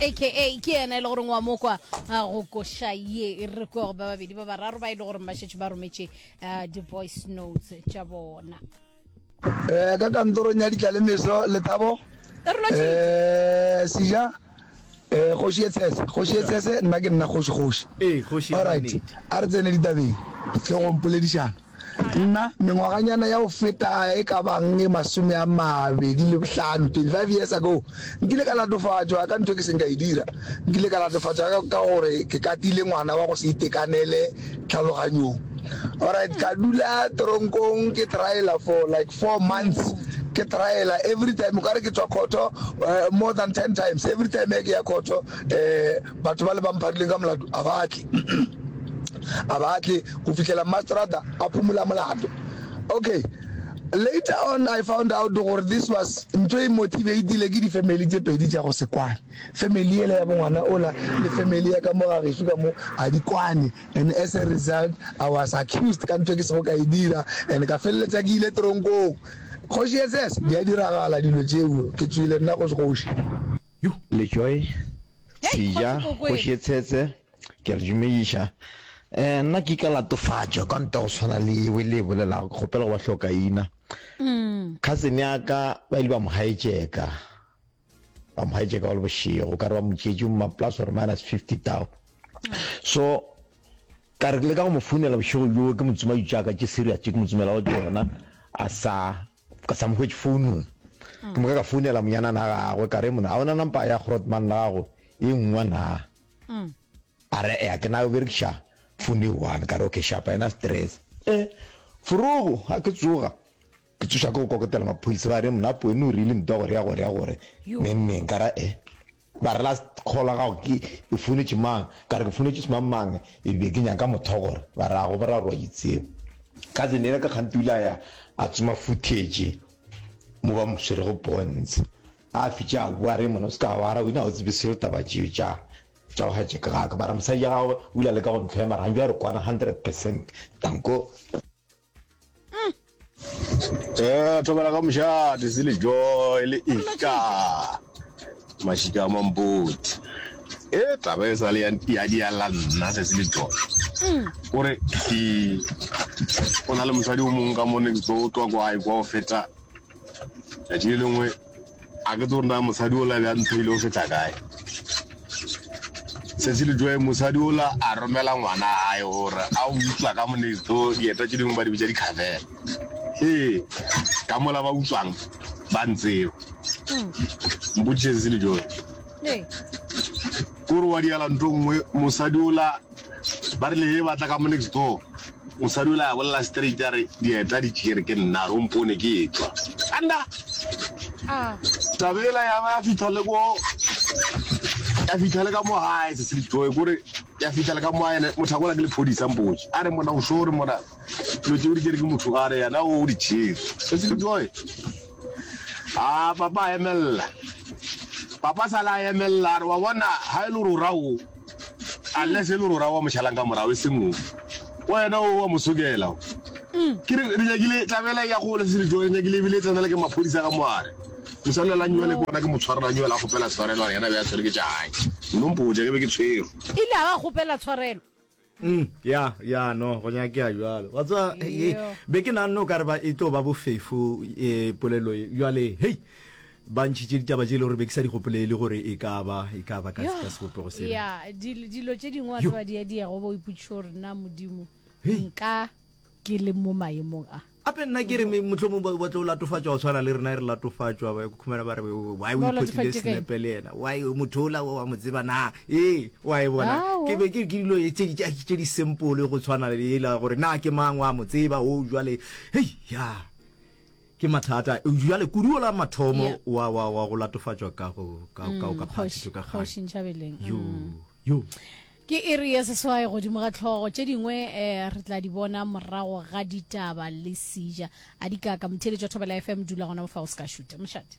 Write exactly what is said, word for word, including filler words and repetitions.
aka ke yena e le goreng wa mokwa go koša ye re kwe go ba babedi ba bararo ba e le goreng ba šetše ba rometše di-voice notes tša bona. Eh, ka kantorong ya ditlalemeso Lethabo eh, Seja eh, kgoši ye tshese kgoši ye tshese nna ke nna kgoši kgoši Ee, kgoši ya alright mannete. a re tsene ditabeng le go mpoledišana nna mengwaganyana ya go feta e ka bang e masome a mabedi le bohlano twenty five years ago nkile ka latofatšwa ka ntho e ke seng ka e dira nkile ka latofatšwa ka, ka gore ke katile ngwana wa go se itekanele tlhaloganyong alright ka dula tronkong ke triala for like four months ke triala every time o kare ke tswa khoto uh, more than ten times every time e ke ya khoto um batho ba le ba mpharileng ka molato a ba tle a ba tle go fihlela mastrata a phumola molato okay later on i found out gore this was ntho e motivatile ke di-family tse pedi tša go se kwane family ele ya bongwana ola le family ya ka mo ga gešo ka mo a di kwane and as a result i was accused ka ntho e ke sego ka e dira and ka feleletša ke ile tronkong kgoši ss di a diragala dilo tšeo ke tswile nna kgoši kgoši Lejoe, Hei, Seja, Kgoši Kgoši Kokwena. ye Tshetse, ke a le dumediša. Eh, nna ke ka latofatšwa ka nto go tshwana le yeo le e bolelago, ke kgopela go ba hlokaina. Cousin ya ka ba ile ba mo hijacka, ba mo hijacka go le bošego, ka re ba mo tšeetše ma plus or minus fifty thou. So ka re ke leka go mo founela bošego bjo, ke mo tsoma ditšaka tše serious tše ke mo tsomelago tšona, a sa ka sa mo hwetše founung. Ke moka ka founela monyanana gagwe, ka re monna, a ona nampa ya Grootman la gago e nngwe na? A re ea, ke na o berekiša phone e one. Ka re okay, shapa ena stress. Eh, forogo, ga ke tsoga, ke tsoša ke go kokotela maphodisa, ba re monna Poene o rile ntwa gore ya gore ya gore, neng neng. Ka ra eh, ba re last call ya gago ke e founetše mang? Ka re ke founetše semang-mang, e be ke nyaka motho gore ba re a go ba ra gore wa itseba. Cousin yela ka kgante o ile a ya a tsoma footage mo ba mo swerego ponts. A fetša a boa a re monna o se ka wara wena ga o tsebe selo taba tšeo tša tša go hijack ga ka. Mara mosadi ya gagwe o ile a leka go ntlhoya mara gantši a re kwana hundred percent. Danko. Eh, thobela ka mošate se le joy le ika mašika a mampoti e taba e sa le ya ya diala nna se se le joy kore ke o na le mosadi o mongwe ka mo next door o tloa kwa gae kwa o feta tšatši le lengwe a ke tse gore na mosadi ola bja ntho ile o feta kae se se le joy mosadi ola a romela ngwana gae gore a utswa ka mo next door dieta tše dingwe ba di bitša di-cavela ee ka mola ba utswang ba ntseo mpotšiše se se le joy Ee. kore wa diala ntho nngwe mosadi ola ba rile he batla ka mo next door mosadi ola a bolela straight a re dieta di tšere ke nna re o mpone ke etšwa anda Ah. taba ela ya ba ya fitlha le ko ya fitlha le ka mo gae se se le joy kore ya fitlha le ka mo gae motho a kola ke lephodisa mpotse a re mona o sure mona dilo tšeo di tšere ke motho a re yena o di tšere se se le joy a papa a emelela papa sa le a emelela a re wa bona ga e le gore o ra o unless e le gore o ra wa mošalang ka morago e seng o wena o wa mo sokela ke re re nyakile tabela ya gole se le joy re nyakile ebile e tsenela ke maphodisa ka moare mosadi la nywele ke bona ke mo tshwarela nywele a kgopela tshwarelo a re yena be a tshwere ke tša gae nno mpotša ke be ke tshwerwe Ile a ba kgopela tshwarelo. Mm, ya ya no go nyakea jalo wa tseba Yo. be ke naganne o ka re ba e tlo ba bofefo e polelo e jale hei ba ntšhitše ditaba tše e le gore be ke sa di gopolele gore e ka ba e ka ba ka Yo. ka sebopego sela Ya, dilo dilo tše dingwe wa Yo. tseba di a diega o bo o ipotšiša gore na modimo Hei. nka ke le mo maemong a. Ape nna ke re mohlomong ba ba tlo latofatšwa go tshwana le rena re latofatšwa ba khumana ba re why o Ba o iphotile latofaditše ka eng? senepe le yena why motho ola wa mo tseba na ee wa e bona Aowa. ke be ke ke dilo tše di tše di simple go tshwana le ela gore na ke mang wa mo tseba o jwale hei ya ke mathata jwale kudu ola mathomo Yeah. wa wa wa go latofatšwa ka go ka ka ka Kgoši phatšo ka kgoši kgang Ntšhabeleng. yo Mm. yo Ke iri ya seswai godimo ga tlhogo tše dingwe eh, re tla di bona morago ga ditaba le seja a di kaka motheeletši wa Thobela F M dula gona mo fa o se ka šuta mošate.